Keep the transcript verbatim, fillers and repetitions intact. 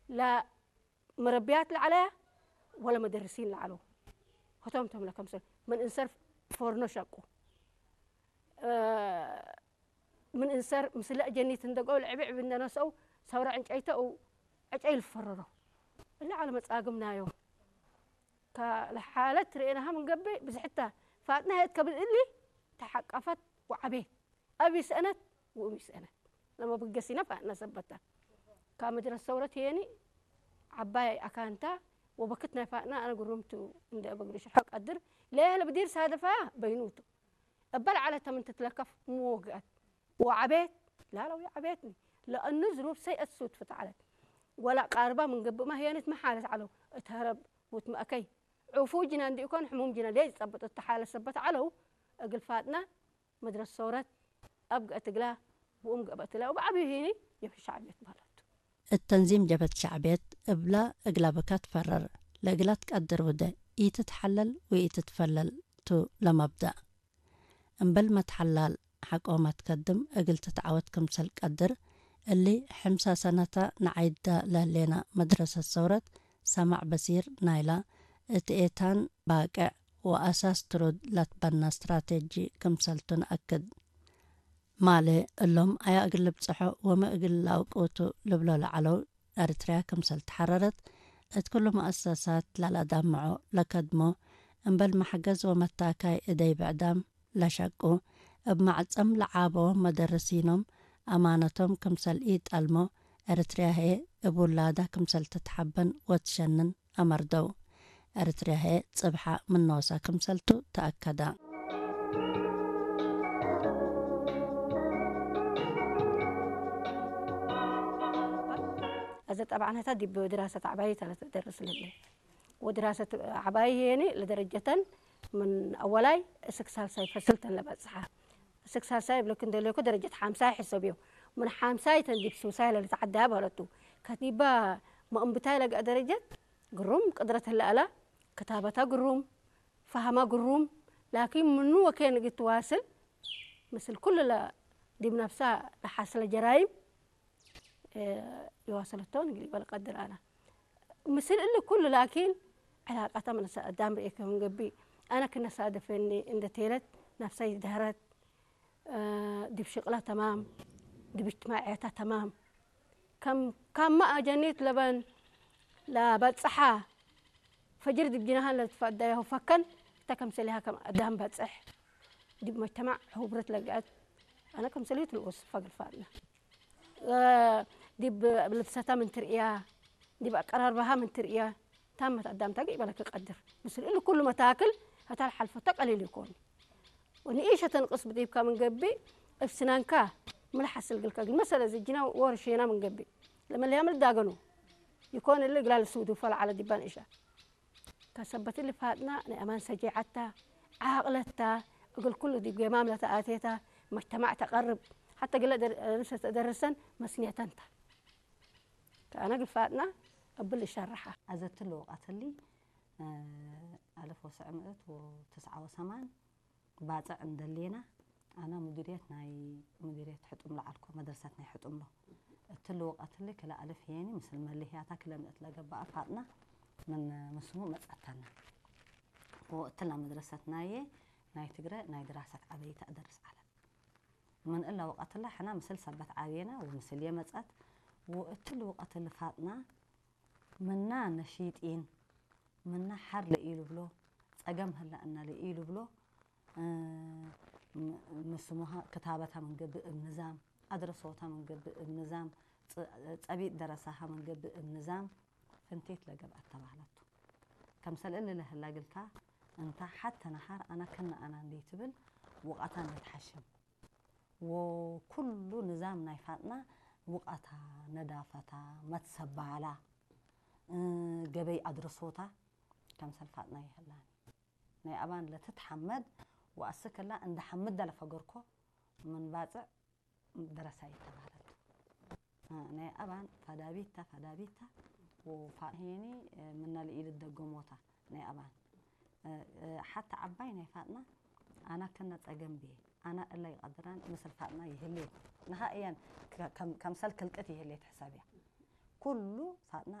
ላ መረብያት ለዐለያ ወለ መደርሲን ለዐለው። ህቶም ቶም ለከምሰል ምን እንሰር ፎርኖ ሸቁ። እ፣ ምን እንሰር ምስለ እጀኒት እንደ ጎል ዕብዕብ እንደ ነስአው ሰውረ ዕንጨይተ ው ዕጨይ ልፈረረው። እለ ዐለ መጻግም ናዮም። ከለሓለት ርኤናሃ ምን ገብእ ብዝሕተ ፋጥነ ህየት ከብል እሊ ተሐቀፈት ወዐቤት። አብ ይስአነት ወእም ይስአነት። ለመብገሲነ ፋጥነ ሰበተ። ከመድረስ ሰውረት ህየኒ ዐባይ አካንታ ወበክት ናይ ፋጥነ አነ ግሩምቱ እንደ እበግሪ ሽርሖ ቀድር። ለየህለ ብዲር ሳደፋያ በይኑቱ። እበ ለዐለተ ምን ትትለከፍ ምወግአት ወዐቤት። ላላ ወዐቤትኒ። ለእኑ ዝኑብ ሰይአት ሱድፍት ዐለት። ወለአቃርባ ምን ገብእመ ህየንት መሓለት ዐለው። እት ሀረብ ወእት መአከይ። ዕፉይ ጅና እንዲ ኢኮን ሕሙም ጅና ሌጅ ጸብጥ እተ ሓለት ሰበት ዐለው። እግል ፋጥነ መድረስ ሶረት አብ ገአት እግላ ወእም ገብአት እላ ወበዐቢዩ ህይኒ ጀብሀት ሸዕብየት በህለት ቱ። እት ተንዚም ጀብሀት ሸዕብየት እብላ እግላ ብካ ትፈረር፣ ለእግላ ትቀድር ወደ ኢትትሐለል ወኢትትፈለል ቱ ለመብደእ። እምበል መትሐላል ሐቆ መትከድም እግል ትትዐወት ክምሰል ቀድር፣ እሊ ሕምሳ ሰነተ ነዓይዳ ለህሌና መድረሰት ሰውረት ሰማዕ በሲር ናይላ እት ኤታን ባቅዕ ወአሳስ ትሩድ ለትበና ስትራቴጂ ክምሰልቱ ነአክድ። ማሌ እሎም አያ እግል ልብጽሖ ወመ እግል ለአውቅቱ ልብሎ ለዐለው ኤሪትርያ ክምሰል ተሐረረት፣ እት ክሉ መአሰሳት ለለአዳምዖ ለከድሞ፣ እምበል መሕገዝ ወመታካይ እደይ ብዕዳም ለሸቁ፣ እብ መዕጸም ለዓበዎም መደርሲኖም አማነቶም ክምሰል ኢጠልሞ፣ ኤሪትርያ ህዬ እብ ውላዳ ክምሰል ትትሐበን ወትሸንን አመርደው። ኤሪትርያ ህዬ ጽብሐ ምን ኖሳ ክምሰልቱ ተአከዳ። አዘ ጠብዓን ህታ ዲብ ድራሰት ዐባይ ተ ለትደርስ ለህለ። ወድራሰት ዐባይ ህዬኒ ለደረጀተን ምን አወላይ እስክ ሳልሳይ ፈስል ተን ለበጽሐ። እስክ ሳልሳይ እብለክ እንደ ሌኮ ደረጀት ሓምሳይ ሕሰብዮ። ምን ሓምሳይ ተን ዲብ ሱሳይ ለልትዐዳ በህለቱ። ከቲባ መእንብታይ ለገአ ደረጀት ግሩም ቅድረት ህለ አላ። ክታበታ ግሩም፣ ፈሀማ ግሩም። ላኪን ምኑ ወኬን እግል ትዋስል ምስል ኩሉ ለ-፣ ዲብ ነፍሳ ለሐስለ ጀራይም እ፣ የዋሰለቶን እግል ኢበል ቀድር አነ። ምስል እሊ ኩሉ ላኪን፣ ዕላቀተ ምን ሰ-፣ አዳም ርኤ ከም ገብእ፣ አነ ክነ ሳደፈኒ እንደ ቴለት፣ ነፍሰይ ደህረት፣ እ፣ ዲብ ሽቅላ ተማም፣ ዲብ እጅትማዕየታ ተማም። ከም፣ ካማ አጀኒት ለበን ለበጽሐ፣ ፈጅር ዲብ ጅናሃን ለልትፈደያሁ ፈከን፣ እተ ከምሰሊሃ ከም አዳም በጽሕ፣ ዲብ መጅተማዕ ሑብረት ለገአት፣ አነ ከምሰሊሁ ትልኡስ ፈግል ፋጥነ። እ፣ ዲብ ልብሰታ ምን ትርእያ፣ ዲብ አቀራርባሃ ምን ትርእያ፣ ታመት አዳምታ ገይበ ለክቀድር። ምስል እሊ ኩሉ መታክል ህታ ለሐልፈቶ ቀሊል ኢኮን። ወንኢሸ ተንቅስ ብዲብካ ምን ገብእ፣ እብ ስናንካ ምን ለሐስል እግልከ እግል መሰለ ዝጅና ወርሼና ምን ገብእ፣ ለመለያ ምን ልዳገኑ ኢኮን እሊ እግላ ልሱዱፈ ለዐለ ዲባ ንኢሸ። ከሰበት እሊ ፋጥና ናይ አማን ሰጄዐት ተ፣ ዓቅለት ተ፣ እግል ኩሉ ዲብ ገማም ለተአቴ ተ፣ መጅተማዕ ተቀርብ፣ ሐተ እግለ ደር-፣ ደርሰ ተደርሰን መስንየተን ተ። ከአነ እግል ፋጥና እብል እሸርሐ። አዘ እትሊ ወቀት እሊ፣ እ፣ አልፍ ወሰዕ ምእት ወትስዓ ወሰማን ባጽዕ እንደሌና፣ አነ ሙዲርየት ናይ፣ ሙዲርየት ሕጡም ለዐልኮ፣ መድረሰት ናይ ሕጡም ሎ። እትሊ ወቀት እሊ ክለ አልፍ ህዬኒ ምስል መሊህያታ ክለ ምእት ለገብአ ፋጥና ምን ምስሙ መጽአተነ። ወእትላ መድረሰት ናዬ ናይ ትግረ ናይ ድራሰት ዐበይ ተአደርስ ዐለት። ምን እለ ወቀት እለ ሕነ ምስል ሰበት ዐቤነ ወምስልዬ መጽአት። ወእትሊ ወቀት እሊ ፋጥና ምና ነሺጢን፣ ምና ሐር ለኢልብሎ፣ ጸገም ህለ እነ ለኢልብሎ፣ እ፣ ም-፣ ምስሙሃ ክታበታ ምን ገብእ እብ ንዛም፣ አድረሶታ ምን ገብእ እብ ንዛም፣ ጸ-፣ ጸቢጥ ደረሳሃ ምን ገብእ እብ ንዛም፣ ፍንቲት ለገብአት ተባህለቱ። ከምሰል እሊ ለህላ እግልካ፣ እንተ ሐተ ነሃር አነ ክነ አነ እንዴ ትብል፣ ውቀታ እንዴ ተሐሽም። ወኩሉ ንዛም ናይ ፋጥና ውቀታ፣ ነዳፈታ፣ መትሰባላ፣ እ፣ ገበይ አድረሶታ፣ ከምሰል ፋጥና ይህላኒ። ናይ አባን ለትትሐመድ ወአስክ እላ እንደ ሐምደ ለፈገርኮ ምን ባጽዕ ደረሳይት ተባህለት። እ፣ ናይ አባን ፈዳቢት ተ፣ ፈዳቢት ተ ወፋ-፣ ሄኒ፣ እ፣ ምነ ለኢልትደገሞታ ናይ አባን። እ፣ እ፣ ሐተ ዐባይ ናይ ፋጥና አነ ክነ ጸገም ብዬ፣ አነ እለ ይቀድራን ምስል ፋጥና ይህሌት። ነሃእየን ከ-፣ ከም-፣ ከምሰል ክልቅት ይህሌት ሕሰብያ። ኩሉ ሳጥና